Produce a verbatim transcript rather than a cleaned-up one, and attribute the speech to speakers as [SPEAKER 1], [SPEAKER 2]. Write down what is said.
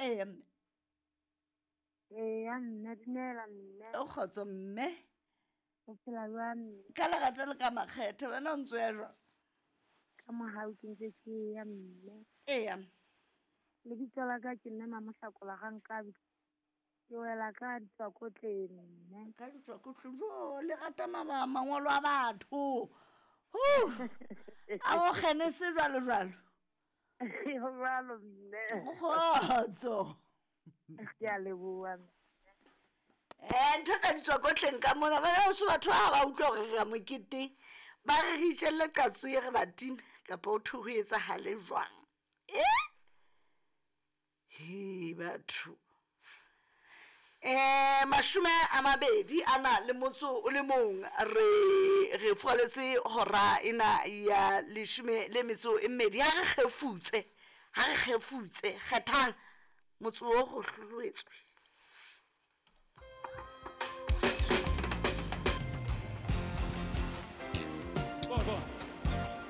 [SPEAKER 1] Eya mme.
[SPEAKER 2] Eya mme, dumela mme.
[SPEAKER 1] O kgotso mme.
[SPEAKER 2] O phela jwang mme?
[SPEAKER 1] Ka lerato le ka makgethe, wena o ntso ya jwang?
[SPEAKER 2] Ka mohau ke ntse ke ya mme.
[SPEAKER 1] Eya.
[SPEAKER 2] Lebitso la ka ke mme Mamohlakola Rankabi. Ke wela ka ditswakotleng mme.
[SPEAKER 1] Ka ditswakotleng, jo le rata maba mangolo a batho. Huh. A o kgene se jwalo jwalo.
[SPEAKER 2] Ho jwalo mme.
[SPEAKER 1] Kgotso.
[SPEAKER 2] Ke a leboha.
[SPEAKER 1] Eh, ntho ka ditswakotleng ka mona bana so batho ba ba utlwa hore re ya moketeng ba re re itjelle qatso e re ba time kapa o thwe ho etsahale jwang. Eh? He batho. Eh mashome a mabedi a na le motso o le mong re re furaletse hora ena ya leshome le metso e mmedi. Ha re kgefutse, ha re kgefutse kgethang motse o go hloloetswe.